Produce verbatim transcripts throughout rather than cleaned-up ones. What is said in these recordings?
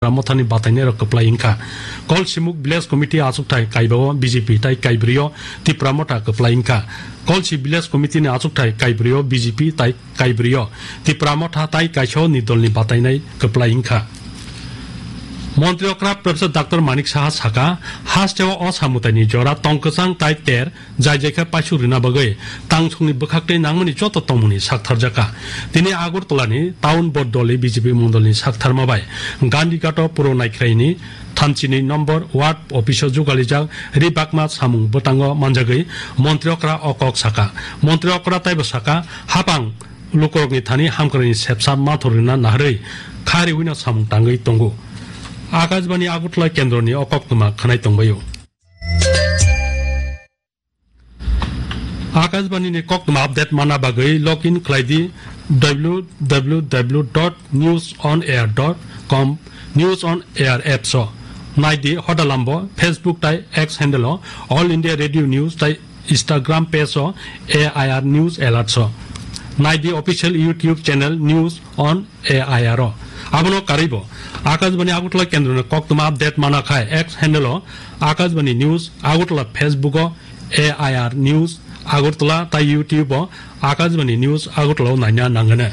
Tipra Mothani batainairok kwplai wngkha. Kolsimuk Village Committee achukthai kaibao B J P tai kaibrio Tipra Motha kwplai wngkha. Kolsi Village Committee ni achukthai kaibrio B J P tai kaibrio Tipra Motha tai kaisao ni dolni batainai kwplai wngkha. Montri okra Professor Doctor Manik Saha saka, hasteo o samwtaini jora tong kwchang tai ter jai jai khe paisuk rina bagwi tangsongni bwkhaktwi nangmani joto tongmungni saktharjakha. Tini Agartala ni Town Board doli B J P mondolni saktharma bai Gandhighato Puro Naikhraini thamchini number ward office o jugalijak ri bakma samung bwtango manjagwi montri okra o kok saka. Montri okra taibo saka, hapang lukurokni thani hamkraini sepsa mathor rina naharwi kha riwino samung tangwi tongo. Akashbani Agartala kendroni o koktwma khwnai tongbaio. Akashbani ni koktwma update mana bagwi login khlai di w w w dot news on air dot com, News on Air apps o. Nai di hoda lambo Facebook tai X handle o All India Radio News tai Instagram page o A I R News Alerts o. Nai di official YouTube channel News on A I R o. Abono karwi bo Akashbani Agartala kendroni koktwma update mana khai X handle o Akashbani News Agartala, Facebook o A I R News Agartala tai YouTube o Akashbani News Agartala o naina nangani.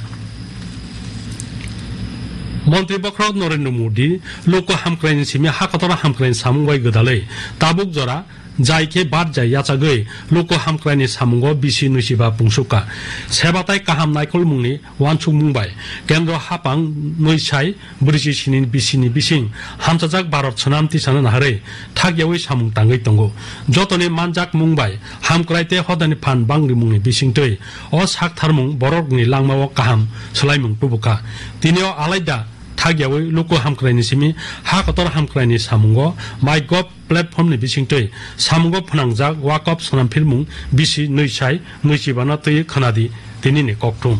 Montri bokhorok Narendra Modi luku hamkraini simi ha kotor hamkraini samung bai gwdalwi tabuk jora jai khe bar jai yachagwi luku hamkraini samungo bisi nuisiba pungsukha. Seba tai kaham naikolmungni uansukmung bai kendro hapang nui sai brwichi sini bisini bising hamchajak Bharat swnam tisano naharwi thakyawi samung tangwi tongo. Jotoni manjakmung bai hamkrai tei hodani phan bangrimungni bisingtwi o saktharmung borokni langmao kaham swlaimung tubukha. Tini o alaida thakyawi luku hamkraini simi ha kotor hamkraini samungo MyGov platform ni bisingtwi samungo phnangjak Wakop swnamphirmung bisi nui sai nui chibano twi khwnadi tinini kokthum.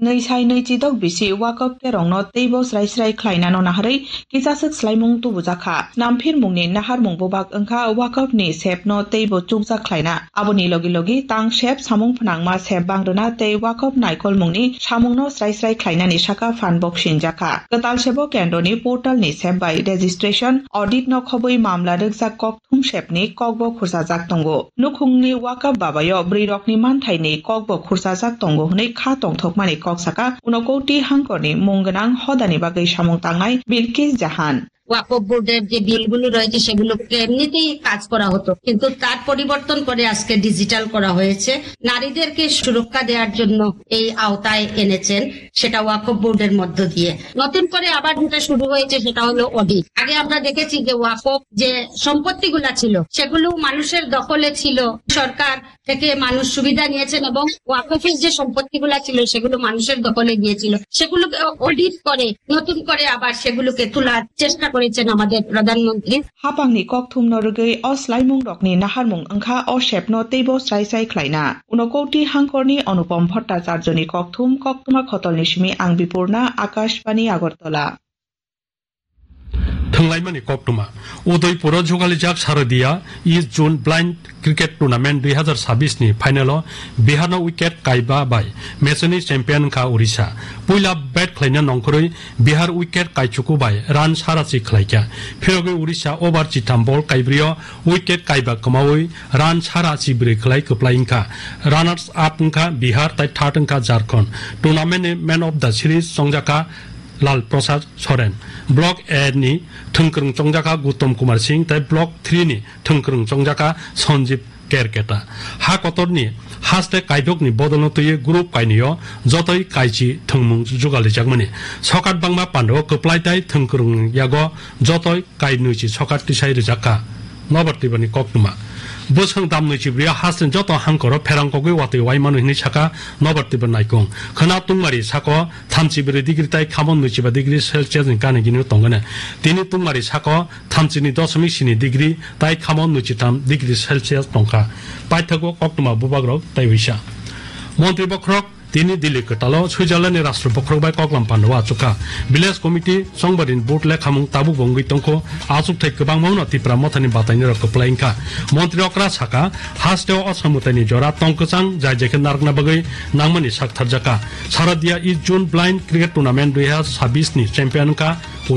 Nui sai nui chidok bisi Wakop kerongno teibo srai srai khlainano naharwi kisaswk swlaimung tubujakha. Swnamphirmungni naharmung bubak wngkha Wakopni sepno teibo chukjak khlaina. Aboni logi logi tang sep samung phnangma sep bangrwna tei Wakop naikolmungni samungno srai srai khlainani saka phan bo sinjakha. Kwtal sebo kendroni portalni sep bai registration, audit no khobwi mamla rwkjak kok thumsepni kokbo khursajak tongo. Nukhungni Wakap babayo bwrwirokni manthaini kokbo khursajak tongo hwnwi kha tongthokmani kok saka Unakoti hangkorni mung gwnang hodani bagwi samung tangnai Bilkis Jahan. ওয়াকফ বোর্ডের যে বিলগুলো রয়েছে সেগুলোকে এমনিতেই কাজ করা হতো, কিন্তু তার পরিবর্তন করে আজকে ডিজিটাল করা হয়েছে। নারীদেরকে সুরক্ষা দেওয়ার জন্য এই আওতায় এনেছেন, সেটা ওয়াকফ বোর্ডের মধ্য দিয়ে। নতুন করে আবার যেটা শুরু হয়েছে সেটা হলো অডিট। আগে আমরা দেখেছি যে ওয়াকফ যে সম্পত্তিগুলা ছিল সেগুলো মানুষের দখলে ছিল, সরকার থেকে মানুষ সুবিধা নিয়েছেন এবং ওয়াকফের যে সম্পত্তিগুলা ছিল সেগুলো মানুষের দখলে গিয়েছিল, সেগুলোকে অডিট করে নতুন করে আবার সেগুলোকে তোলার চেষ্টা করেছেন আমাদের প্রধানমন্ত্রী। Hapangni kokthumno rwgwi o swlaimungrokni naharmung wngkha o sepno teibo srai srai khlaina. Unakoti hangkorni Anupam Bhattacharjoni kokthum, koktwma khotolni simi ang Bipurna, Akashbani Agartala. Thwnglaimani koktwma. Udaipuro jugalijak Sharadiya East Zone Blind Cricket Tournament dui hazar sabis ni final o Bihar no wicket kaiba bai match ni champion wngkha Orissa. Puila bat khlaina nongkhorwi Bihar wicket kaichuku bai run sarachi khlaikha. Phirogwi Orissa over chitham ball kaibrio wicket kaiba kwmawi run sarachi bwrwi khlai kwplai wngkha. Runners up wngkha Bihar tai third wngkha Jharkhand. Tournament ni man of the series chongjakha Lal Prasad Soren. Block A ni thwngkwrwng chongjakha Gautam Kumar Singh tai Block three ni thwngkwrwng chongjakha Sanjeev Kerketa. Ha kotorni haste kaidokni bodolno twiwi group kainwio jotoi kaichi thwngmung jugalijagmani. Sokat bangma pandao kwplai tai thwngkwrwng yago jotoi kai nwichi sokat tisai rwjakha. Nobar Tibrani koktwma. Bwswng dam nwichi bwrwi hasteni joto hangkoro pherang kogwi watwi wai mano hinwi sakha Nobar Tibra naikung. Khwna tungmari sako thamchi bwrwi degree tai khamon nwichiba degree Celsius ni gana gini tongkhe. Tini tungmari sako thamchini dosomik sini degree tai khamon nwichitham degree Celsius tongkha. Paithago koktwma bubagrok taiwisa. Montri bokhorok Tini Delhi kwtalo Switzerland ni rashtra bokhorok bai koklam pandao achukha. Village committee chongbarini vote lekhamung tabukbo wngwi tongkho. Achukthai kwbangma wngno Tipra Mothani batainirok kwplai wngkha. Montri okra saka, hasteo o samwtaini jora tong kwchang jai jai khe narwkna bagwi nangmani sak tharjakha. Sharadiya East Zone Blind Cricket Tournament dui hazar sabis ni champion wngkha.